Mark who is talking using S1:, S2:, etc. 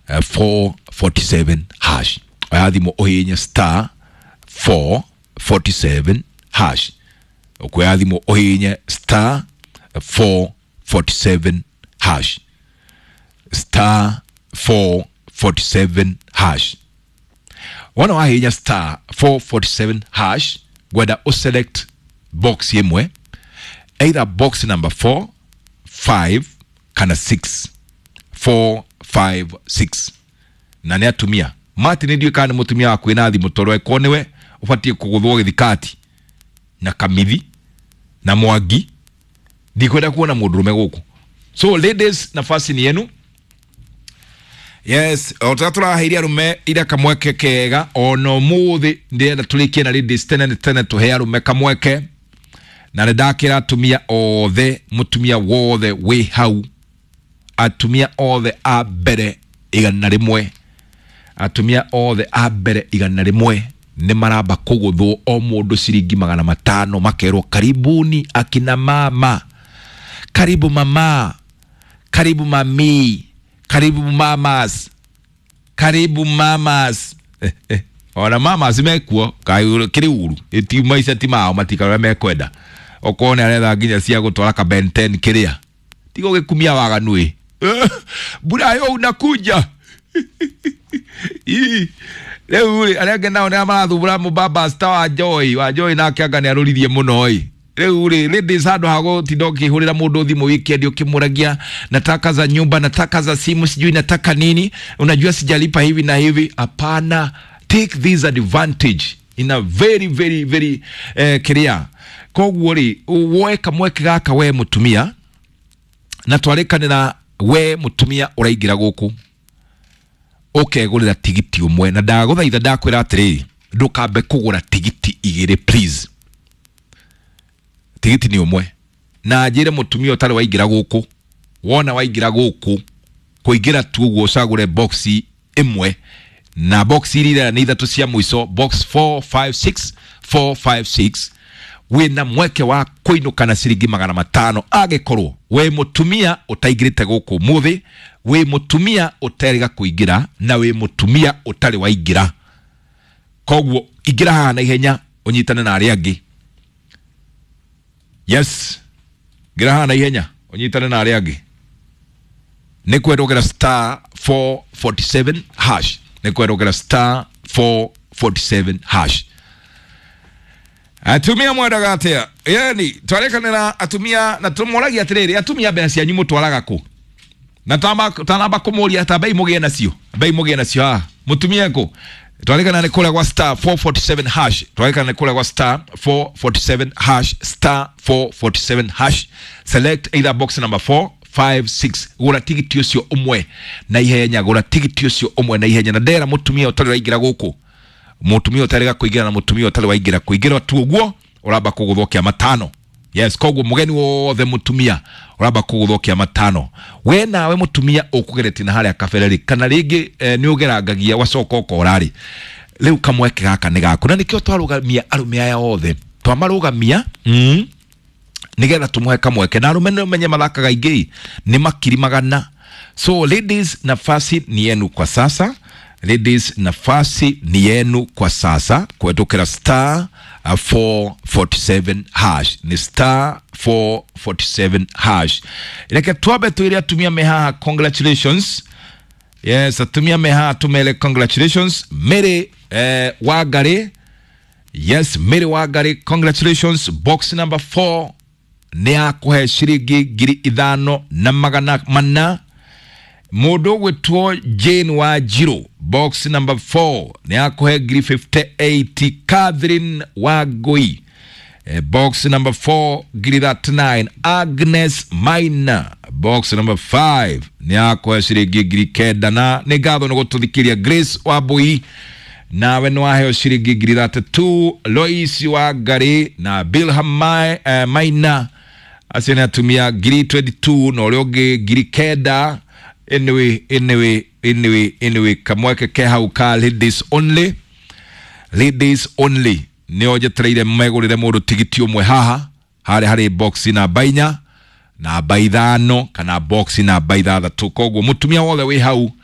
S1: 447 hash. Oya thimũ ũhihinye star 447 hash. Ũkuoya thimũ ũhihinye star 447 hash, star 447 hash. Wona wahihinya star 447 hash, ngwenda ũselect box ĩmwe, either box number 4, 5 kana 6. 4, 5, 6. Na nĩ atumia. Martin, ndiũĩ kana nĩ mũtumia waku wĩna thimũ, tondũ angĩkorwo nĩwe ũbatiĩ kũgũthwo gĩthikati na kamithi na mwangi. Ndikwenda kuona mũndũrũme gũkũ. So ladies, nafasi ni yenu. Yes, o ta tũraheire arũme ira kamweke kega, ona ũmũthĩ ndĩrenda tũrĩkie na ladies tene nĩ tene, tũhe arũme kamweke. Na nĩ ndakĩra atumia othe, mũtumia wothe wĩ hau, atumia othe a mbere 100, atumia othe a mbere 100 nĩ maramba kũgũthwo o mũndũ ciringi 500, makerwo karibuni akina mama, karibu mama, karibu mami, karibu mamas, karibu mamas. Ona mamas mekuo kĩrĩ uru ĩti maica ti mao, matikara mekwenda. Okorwo nĩ aretha nginya cia gũtwara ka Ben 10 kĩrĩa tiga ũgĩkumia waganu ĩ mbura yo unakuja. Ii, rĩu rĩ, arĩa angĩ nao nĩ marathumbũra mũbaba star wa Joy, wa Joy nake anga nĩ arũririe mũno ĩ. Rĩu rĩ, ladies, handũ ha gũtinda ũkĩhũrĩra mũndũ thimũ weekend ũkĩmũragia, nataka za nyumba, nataka za simu, sijui nataka nini, unajua sijalipa hivi na hivi, hapana. Take this advantage in a very very very clear. Koguo rĩ, woe kamweke gaka we mũtumia, na twarĩkanĩra we mũtumia ũraingĩra gũkũ ũkegũrĩra tigiti ũmwe, na ndagũthaitha, ndakwĩra atĩrĩrĩ, ndũkambe kũgũra tigiti igĩrĩ, please. Tigiti nĩ ũmwe. Na njĩre mũtumia ũtarĩ waingĩra gũkũ, wona waingĩra gũkũ, kũingĩra tu ũguo ũcagũre box ĩmwe, na box iria nĩ ithatũ cia mũico, box 4, 5, 6, 4, 5, 6, wĩna mweke wa kũinũka na ciringi 500, angĩkorwo wĩ mũtumia ũtaingĩrĩte gũkũ ũmũthĩ, wĩ mũtumia ũterĩga kũingĩra, na wĩ mũtumia ũtarĩ waingĩra. Koguo ingĩra haha na ihenya ũnyitane na arĩa angĩ. Yes, ingĩra haha na ihenya ũnyitane na arĩa angĩ. Nĩ kwendogera star 447 hash, nĩ kwendogera star 447 hash. Atumia mwendaga atĩa? Yani twarekanĩra atumia na tũmoragia atĩrĩrĩ, atumia, mbeca cianyu mũtwaraga kũ? Na tanamba kũmũria ta mbei mũgĩe nacio, mbei mũgĩe nacio haha mũtumia kũ. Twarekana nĩ kũrĩa gwa star 447 hash, twarekana nĩ kũrĩa gwa star 447 hash, star 447 hash. Select either box number 4, 5, 6. Gũra tigiti ũcio ũmwe na ihenya, gũra tigiti ũcio ũmwe na ihenya. Na ndera mũtumia ũtarĩ waingĩra gũkũ, mũtumia ũtarĩ kũingĩra na mũtumia ũtarĩ waingĩra, kũingĩra tu ũguo ũramba kũgũthwo kĩa matano. Yes, koguo mũgeni wothe mũtumia ũramba kũgũthwo kĩa matano. We nawe mũtumia ũkũgeretie na harĩa kabere rĩ, kana rĩngĩ nĩ ũgerangagia wacoka ũkora rĩ, rĩu kamweke gaka nĩ gaku, na nĩkĩo twarũgamia arũme aya othe, twamarũgamia nigetha tumuhe kamweke. Na arume nĩ menye mathakaga ingĩ nĩ makiri magana. So ladies, nafasi ni yenu kwa sasa. Ladies, nafasi ni yenu kwa sasa kuhetũkĩra star 447 hash, ni star 447 hash. Reke twambe twĩre atumia me haha congratulations. Yes, atumia me haha tumere congratulations. Mary Wangari. Yes, Mary Wangari, congratulations. Box number 4 nĩ yakũhe ciringi 5400. Mũndũ ũgwĩtwo Jane wa Njirũ, box number 4 nĩ yakũhe 58,000. Catherine Wangui, box number 4, 39,000. Agnes Maina, box number 5 nĩ yakũhe ciringi 9,000. Na nĩ ngatho nĩ gũtũthikĩria. Grace Wambui, nawe nĩ waheo ciringi 32,000. Lois Wangari na Bilham Maina, acio nĩ atumia, 22,000, na ũrĩa ũngĩ 9,000. Anyway, anyway, anyway, anyway, kamweke ke hau ka ladies only, ladies only, nĩo njetereire megũrĩre mũndũ tigiti ũmwe haha harĩa harĩ box namba 4, namba 5 kana box namba 6. Koguo mũtumia wothe wĩ hau.